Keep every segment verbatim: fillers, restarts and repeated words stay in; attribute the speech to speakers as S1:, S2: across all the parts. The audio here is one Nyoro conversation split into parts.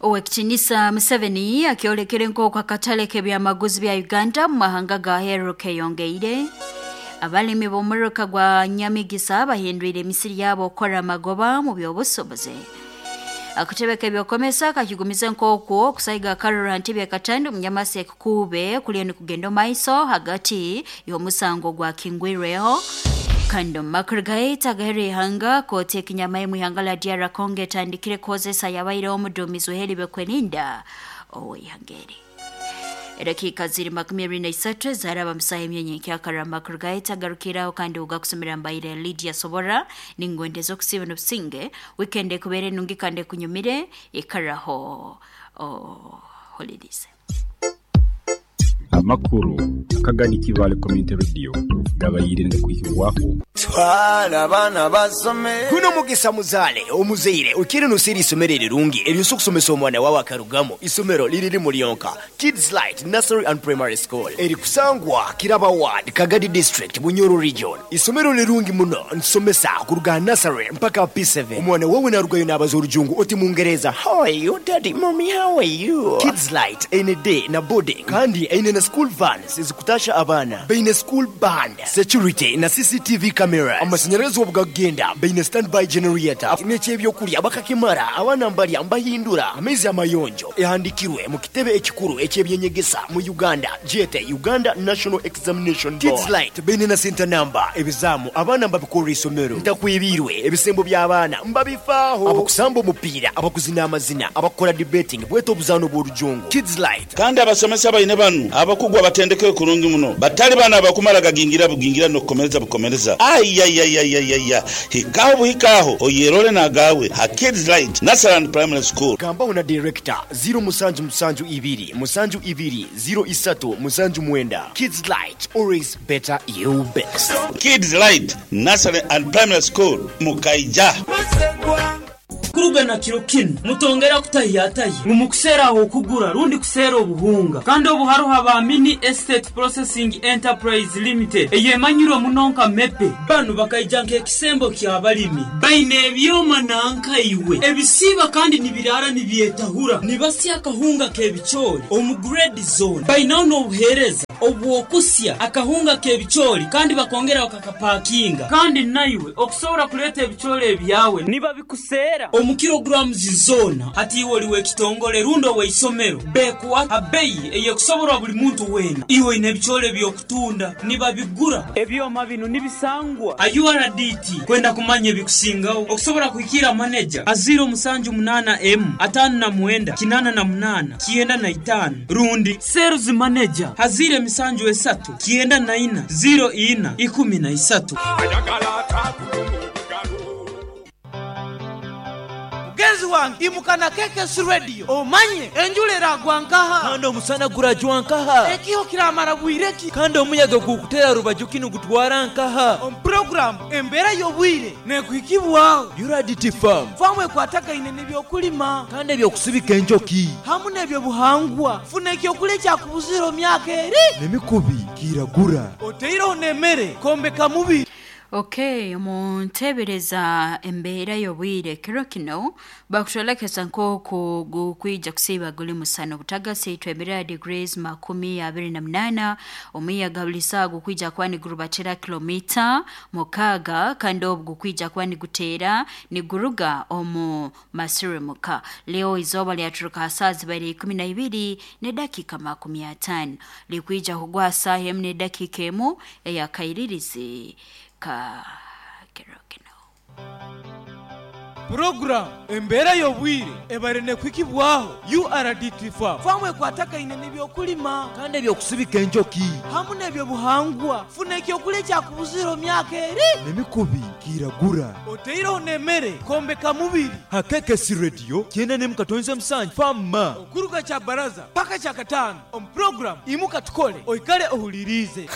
S1: Owekitinisa Museveni akyolekere nk'oku akatale k'ebyamaguzi bya Uganda mu mahanga ga Heru keyongeire. Abalimi b'omuruka gwa Nyamigisa bahindwire emisiri yabo okukora amagoba mu by'obusobozi. Akatebe k'ebyokomesa kakigumize nk'oku okusaiga akarura ntebe katandi omunyamasi ekukube kuliyo nikugenda omaiso hagati y'omusango gwa kingwirweho. Kandi omu makuru gaita agahera ihanga kooti ekinyama mu ihanga la D R Congo etandikire kukozesa yabaireho omuduumizi w'eheri Bekwerinda ow'ihanga eri. Edakika ziri makumi abiri na isatu zaraba musaha emyenye nkyakara amakuru gaita agarukiraho kandi ugakusomera mbaire Lydia Sobora ningwendeza okusiba n'obusinge weekend ekubere nungi kandi ekunyumire ikaraho oh, holidays.
S2: Amakuru akagani Kibale Community Radio gabayire ndikuhirwaho
S3: twala abana basome
S4: kuno mugisa muzale omuzeire ukiri nusiri isomero rirungi eryo kusomesa omwana wawe akarugamo isomero liriri mulionka Kids Light Nursery and Primary School eri kusangwa Kiraba Ward Kagadi District Bunyoro Region. Isomero lirungi muno nsomesa kuruga nursery mpaka P seven. Omwana wawe narugayo nabaza orujungu oti mungereza how are you daddy mommy how are you. Kids Light N D na boarding kandi eine na school vans ezikutasha abana beine school band security na C C T V cameras amashanyarazi obugagenda beine standby generator n'ekyebyokulya bakakimara abana mbalya mbahindura amezi amayonjo ehandikirwe mu kitebe ekikuru ekyebyenyegesa mu Uganda jete Uganda National Examination Board. Kids Light beine na center number ebizamu abana mbabikora isomero ntakwibirwe ebisembo by'abaana mbabifaaho abakusamba omupiira abakuzina amazina abakora debating bweto obuzano bw'orujungu Kids Light.
S5: Kandi abasomesa baine banu abakugwa batendeke kurungi muno batali bana abakumara gagingira bugingira no kukomereza bukomereza ayayayayaya hikaho buhikaho oyerole nagawe ha Kids Light Nursery and Primary School.
S4: Gamba na director zero musanju musanju ibiri musanju ibiri zero isatu musanju mwenda. Kids Light, always better you best.
S5: Kids Light Nursery and Primary School Mukaija.
S6: Kuruga na kiro kino mutongera kutahiyataye mumukusera aho kugura rundi kusera obuhunga kandi obuharuha ba Mini Estate Processing Enterprise Limited eyemanyirwe munonka mepe banu bakaija nk'ekisembo ky'abalimi baine ebyoma nanka iwe ebisiba kandi nibirara nibyetahura nibasya akahunga k'ebichori omu grade zone bainaho n'obuhereza obwokusya akahunga k'ebichori kandi bakongera bakakapakinga kandi naiwe okusobora kuleta ebichori ebyawe niba bikusera omu kilograms zona hati iwe oliwe kitongole rundo weisomero bekuwa abeyi eyekusoborwa buli muntu wena iwe ine ebichole byokutunda nibabigura ebyoma bino nibisangwa U R D T kwenda kumanya ebikusingaho okusobora kuhikira manager aziro musanju munana m atano na mwenda kinana na munana kienda na itano rundi sales manager hazire misanju esatu kienda na ina zero ina ikumi na isatu.
S7: Mugenzi wange imukana K K S Radio omanye enjula eragwa nkaha
S8: kandi omusana gurajwa nkaha
S7: ekiho kiramara bwireki
S8: kandi omuyaga gukutera rubaju kinu gutwara nkaha
S7: omu program embera y'obwire nekuhikibwaho
S8: U R D T Farm
S7: famu ekwatagaine n'ebyokulima
S8: kandi ebyokusibika enjoki
S7: hamu n'ebyobuhangwa funa ekyokulya kyakubuzira omyaka eri
S8: n'emikubi kiragura
S7: oteireho n'emmere kombeka mubiri.
S1: Okay, muntebereza embeera y'obwire kiro kino bakutolekeza nk'oku gukwija kusiiba guli musana obutagasi itwemerera degrees makumi abiri na munana omuyaga buli saawa gukwija kuba nigurubatira kilomita mukaaga kandi obu gukwija kuba niguteera niguruga omu masirimuka. Leo izooba lyaturuka saa zibaire ikumi na ibiri n'edakiika makumi ataano likwija kugwa saaha emu n'edakiika emu eyakairirizi ka kiro kino.
S7: Program embera y'obwire ebare nekwikibwaho U R D T Farm famu ekwatagaine n'ebyokulima
S8: kandi ebyokusibika enjoki
S7: hamu n'ebyobuhangwa funa ekyokulya kyakubuzira omyaka eri
S8: n'emikubi kiragura
S7: oteireho n'emmere kombeka mubiri
S8: ha K K S Radio kyenda n'emu katonze musanju fama
S7: okuruga kya baraza paka kya kataano omu program imuka tukole oikale ohulirize.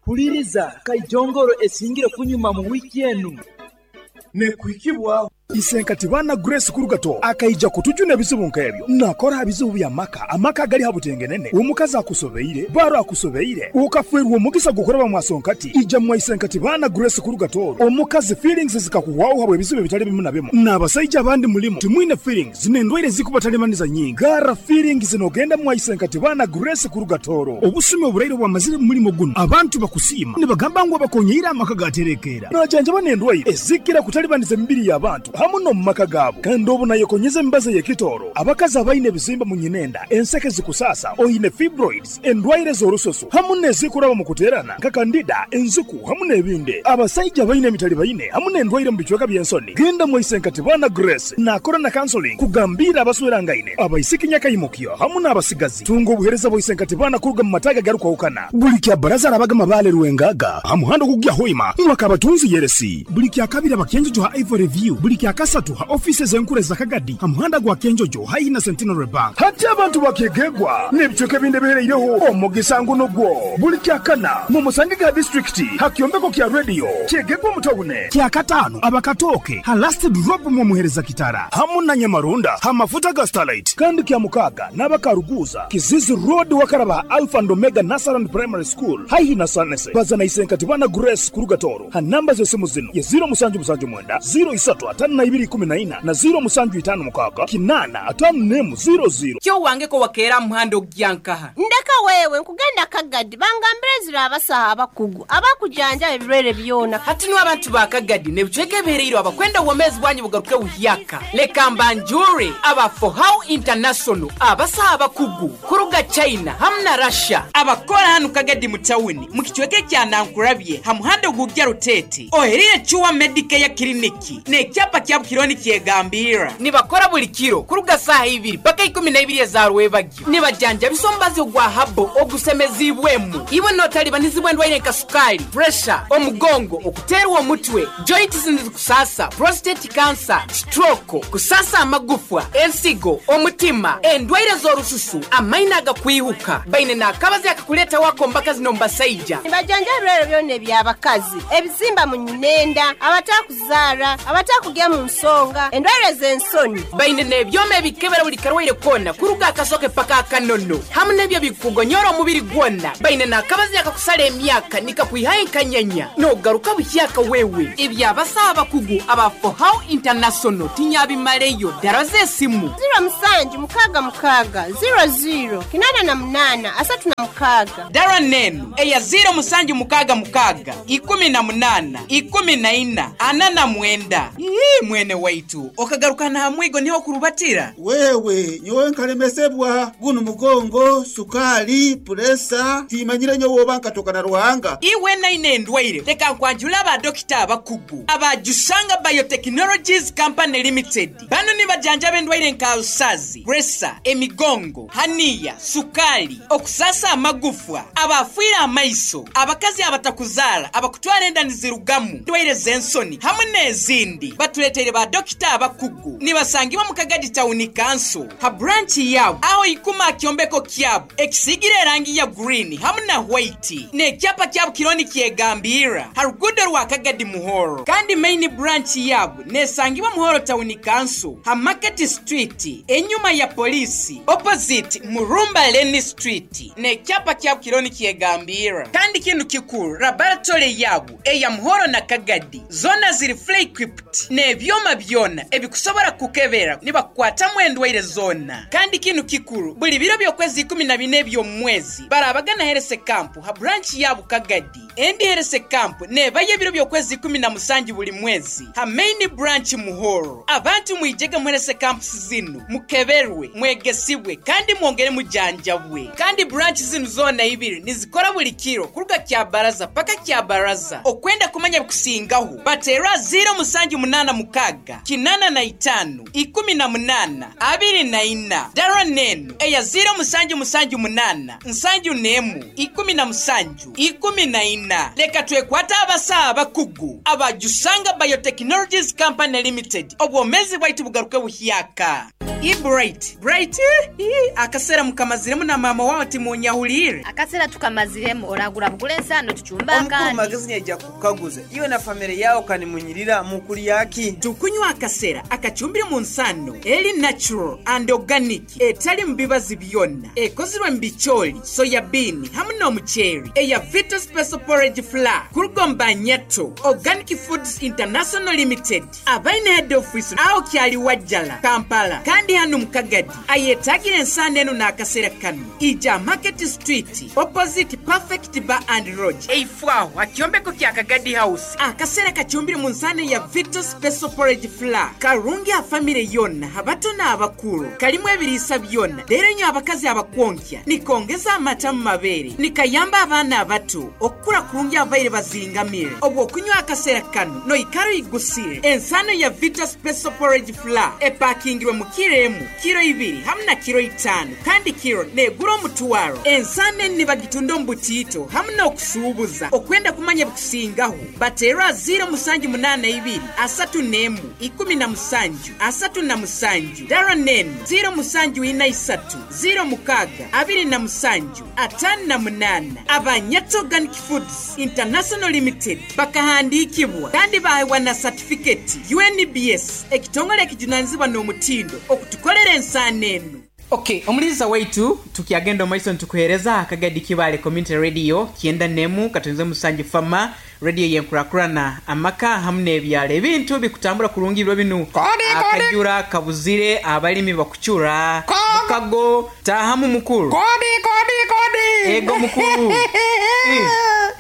S8: Huliriza kaijongoro esingire kunyuma mu wiki enu
S7: nekuhikibwaho.
S9: Isenkatibana Grace Kurugato akaija kutujuna ebizibu nk'ebyo. Nakora bizibu bya maka, amaka gali habutengenene. Omukazi akusobeire, baro akusobeire. Ukafwerwa omugisa gukoraba mwasonkati. Ija mwa Isenkatibana Grace Kurugato. Omukazi feelings zikakuwaho habwe ebizibu bitali bimu na bimu. N'abasajja abandi mulimo timwine feelings n'endwaire zikubatalibaniza nyingi. Gara feelings nogenda mwa Isenkatibana Grace Kurugatoro. Obusumi oburaire bwamazire mu mulimo guno. Abantu bakusiima nibagamba ngu abakonyeira amaka gaterekera. Najanjaba n'endwaire ezikira kutalibaniza emibiri y'abantu hamu no mu maka gaabo. Kandi obu nayekonyeza embaza y'ekitoro. Abakazi abaine ebizimba mu nyinenda, enseke zikusasa, oyine fibroids, endwaire z'orususu hamu n'ezikuraba mu kuterana nka kandida, enzuku hamu n'ebindi. Abasajja abaine emitali baine hamu n'endwaire mu bicweka by'ensoni. Genda mu Isenkatibana Grace nakora na counseling kugambira abaswerangaine, abaisiki nyakayimukyo hamu n'abasigazi. Tunga obuhereza bwa Isenkatibana kuruga mu mataga garukwahukana. Buli kya baraza arabaga mabale Rwengaga hamuhando kugya hoima mwakabatunzi yeresi. Buli kya kabiri abakenjojo ha Ivory View. Buli kya kasatu ha offices enkure za Kagadi hamuhanda gwa Kenjojo haina Centenary Bank. Hati abantu bakegegwa n'ebicweka ebindi bihereireho omugisa nguno gwo. Buli kya kana mu Musangiga district hakyombeko kya radio kyegegwa mutawune. Kya katano abakatoke ha last drop mu muhereza kitara hamu na Nyamarunda ha mafuta ga Starlight. Kandi kya mukaga n'abakaruguza Kizizi Road wakaraba Alpha and Omega Nursery Primary School haihi na Sanese. Bazana Isenkatibana Grace Kurugatoro ha namba z'esimu zino ye zero musanju musanju mwenda zero isatu atano na ibiri kumi na ina na zero musanju itano mukaga kinana atano nemu zero zero.
S10: Kyo wange ko wakera muhando gyankaha.
S11: Ndeka wewe nkugenda Kagadi bangambire zira abasaha abakugu abakujanja ebirwere byona.
S10: Hati no abantu ba Kagadi nebicweke bihereiro abakwenda uwomezi bwanyu bugaruke buhyaka. Leka mbanjure aba For How International abasaha abakugu kuruga China hamna Russia abakora hanu Kagadi mu tawuni mu kicweke kya Nankurabye hamuhando gugya Rutete oherire chuwa Medicare kiliniki n'ekyapa kya Bukironi kyegambira nibakora buli kiro kuruga saha ibiri paka ikumi na ibiri za rwebagyo nibajanja bisombazi ogwa habo ogusemezibwemu iwe notalibanizibwa endwaire nka sukali, pressure, omugongo, okuterwa omutwe, joints kusasa, prostate cancer, stroke, kusasa amagufwa, ensigo, omutima, endwaire z'orususu, amaina agakwihuka. Baine n'akabazi akakuleta wako mbaka zino mbasaija.
S11: Nibajanja ebirwere byona eby'abakazi, ebizimba mu nyinenda, abatakuzaara, abatakugya mu nsonga, endwaire z'ensoni.
S10: Baine n'ebyoma ebikebera buli karwaire kona kuruga akasoke paka akanono hamu n'ebyo bikugonyora omubiri gwona. Baine n'akabazi akakusala emyaka nikakwihayo enkanyanya n'ogaruka buhyaka wewe. Ebyabasaha abakugu aba For How International tinyabimaleyo. Dara z'esimu
S11: zero musanju mukaga mukaga zero zero kinana na munana asatu na mukaga.
S10: Dara nenu eya zero musanju mukaga mukaga ikumi na munana ikumi na ina ana na mwenda. Ii mwene waitu okagaruka na hamwigo niho kurubatira.
S12: Wewe nyowe nkalemesebwa guno mugongo, sukali, puresa timanyire nyowe obanka tokana Ruhanga.
S10: Iwe naine endwaire leka nkwanjula aba dokita abakugu abajusanga Biotechnologies Company Limited. Bano nibajanja b'endwaire nka usazi, presa, emigongo, haniya, sukali, okusasa amagufwa, abafuira amaiso, abakazi abatakuzara, abakutwara enda nizirugamu, ndwaire z'ensoni hamwe n'ezindi. Batuleteire ba dokita abakugu nibasangibwa mu Kagadi Town Council ha branch yabo aho ikuma kyombeko kyabo ekisigire erangi ya green hamwe na white n'ekyapa kyabo kironi kyegambira ha rugudo rwa Kagadi Muhoro. Kandi main branch yabo nesangibwa Muhoro Town Council ha Market Street enyuma ya polisi opposite Murumba Lane Street n'ekyapa kyabo kironi kyegambira. Kandi kintu kikuru laboratory yabo eya Muhoro na Kagadi zona ziri fully equipped n'ebyoma byona ebikusobora kukebera nibakwatamu endwaire zona. Kandi kintu kikuru buli biro by'okwezi ikumi na bine by'omwezi barabagana Herese Camp ha branch yabo Kagadi. Endi Herese Camp nebaye ebiro by'okwezi ikumi na musanju buli mwezi ha main branch Muhoro. Abantu mwijege mu Herese Camp zinu mukeberwe, mwegesibwe kandi mwongere mujanjabwe. Kandi branch zinu zona ibiri nizikora buli kiro kuruga kya baraza paka kya baraza. Okwenda kumanya bikusingaho batera zero musanju munana mukaga kinana na itanu ikumi na munana abiri na ina. Dara nenu eya zero musanju musanju munana nsanju nemu ikumi na musanju ikumi na ina. Leka twekwata abasaha abakugu abajusanga Biotechnologies Company Limited. Obwomezi bwaitu bugaruke buhyaka. I bright bright akasera mukamaziremu na mama wawe timunyahulire
S13: akasera tukamaziremu oragura bugule ensano tuchumba
S3: omukuru
S13: kandi
S3: magezi yaija kukaguza iwe na family yao kanimunyirira mukuli yaki
S10: tukunywa akasera akachumbire mu nsano eri natural and organic etali mubibazi byonna ekozirwe mu bicholi soya bean hamu n'omuceeri eya Vita Special Porridge Flour kurugomba nyato Organic Foods International Limited abaine head office aho kyali Wajjala Kampala kandi hano mukagadi ayetagira ensano eno n'akasera kano ija Market Street opposite Perfect Bar and Lodge eifwaho akyombeko kya Kagadi House akasera kachumbire mu nsano ya Vita Special Porridge Flour karungi a family yonna abato n'abakulu kalimu ebiriisa byonna leero nnyo abakazi abakwonkya nikongeza amata mu mabeere nikayamba abaana abato okukula kurungi abaire bazingamire obwo okunywa akasera kano noikaro igusire ensano ya Vita Special Porridge Flour epakingirwe mu kiro emu kiro ibiri hamu na kiro itano kandi kiro negura omutwaro ensano eni bagitunda omu butiito hamu n'okusuubuza okwenda kumanya bikusingaho bateerwa ziro musanju munaana ibiri asatu n'emu ikumi na musanju asatu na musanju dara nenu ziro musanju ina isatu ziro mukaga abiri na musanju atano na munana Abanyato Organic Foods International Limited bakahandikibwa kandi bahewa na certificate U N B S ekitongole ekijunanizibwa n'omutindo okutukolera ensano eno. Okay, omuliza waitu tukiagenda omaiso ntukuhereza Akagadi Kibale Community Radio kienda nemu katonze musanju fama radio yenkurakurana amaka hamu n'ebyalo ebintu bikutambula kurungi biro binu akajura kabuzire abalimi bakuchura mukago tahamu mukuru
S14: kodi kodi kodi
S10: ego mukuru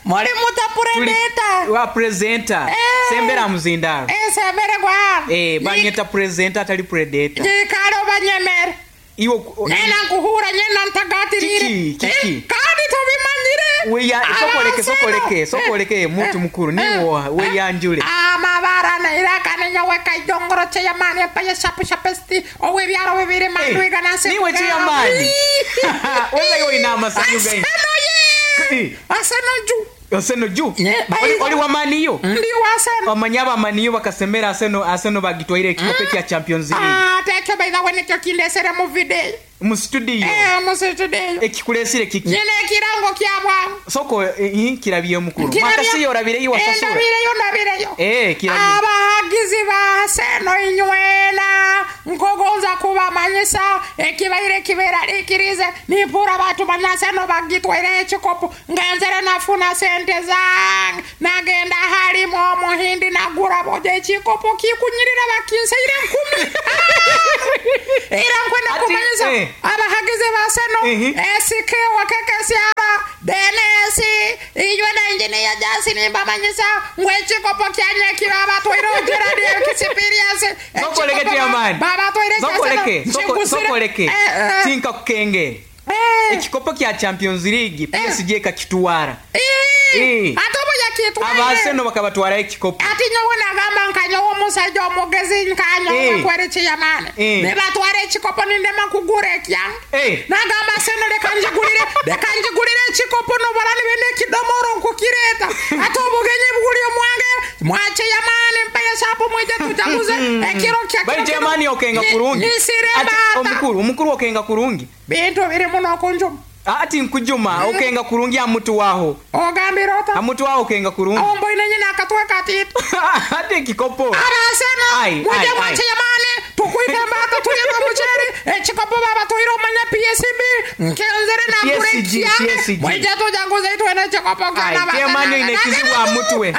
S14: Mwali muta presenter
S10: wa presenter eh. Sembera muzindaro
S14: eh sembera kwa
S10: eh banyeta presenter atali predator
S14: jikaro banyemere
S10: iwo
S14: nena nkuhura nyena ntagatirire
S10: kiki kiki
S14: eh, kandi tubimanyire
S10: weya sokoleke sokoleke sokoleke mutu mukuru niwo weyanjule
S14: amabara nairaka nyawe kaijongoro cheyamani apaya shapu shapesti owe byaro bibiri mandwiga nase
S10: niwe cheyamani wewe yo ina masanyu gai
S14: aseno ju
S10: Aseno juu oli wa maniyo
S14: ndi wa aseno
S10: omanyaba amaniyo bakasemera aseno aseno bagitwaire ekikope kya Champions League
S14: ah tekyo baitha wenekyo kindesere mu video
S10: mu studio
S14: eh mu studio
S10: ekikulesire kiki
S14: nyene kirango kya bwa
S10: soko eh, kirabye mukuru makasi yorabire yiwa sasura
S14: ndabire yo ndabire yo
S10: eh kirabye
S14: abahagizi ba aseno inywena nkogonza kubamanyisa ekibaire kibera likirize nipura batu banyaseno bagitwaire ekikopo ngenzere nafuna sente zange nagenda halimo omuhindi nagura boje ekikopo kikunyirira bakinseire nkumi era nkwenda kumanyisa
S10: eh.
S14: abahagizi baseno esike wakekesiara denesi inywe na engineer jasi nimbamanyisa ngwekikopo kyanye kiraba twirojera experience
S10: sokoleke chairman
S14: baba twire
S10: sokoleke sokoleke tinka kukenge ekikopo kya Champions League P S G kakituwara
S14: eh atobo yakitwara
S10: abaseno bakabatwara ekikopo
S14: ati nyowe nagamba nkanyowe omusajja omugezi nkanyowe kwere chiyamane ne batwara ekikopo nindema kugura ekyange nagamba seno leka njigulire leka njigulire ekikopo nobora nibende kidomoro nkukireta ate obugenyi buguli omwange mwache yamane mpaya sapo mwije tujaguze ekiro kya
S10: bali chiyamani okenga kurungi ati omukuru omukuru okenga kurungi
S14: bintu biri muno kunjuma
S10: ati nkujuma okenga kurungi amutu waho
S14: ogambira ota
S10: amutu waho okenga kurungi
S14: ombo inenye akatweka atitu
S10: ati ekikopo
S14: arasena mwije mwache yamane tukuite mbata tuye muceri ekikopo baba tuire omanya P S B nkenzere na kure kyange mwije tujaguze itwene ekikopo
S10: kyana baba chiyamani ine kizibu amutu we.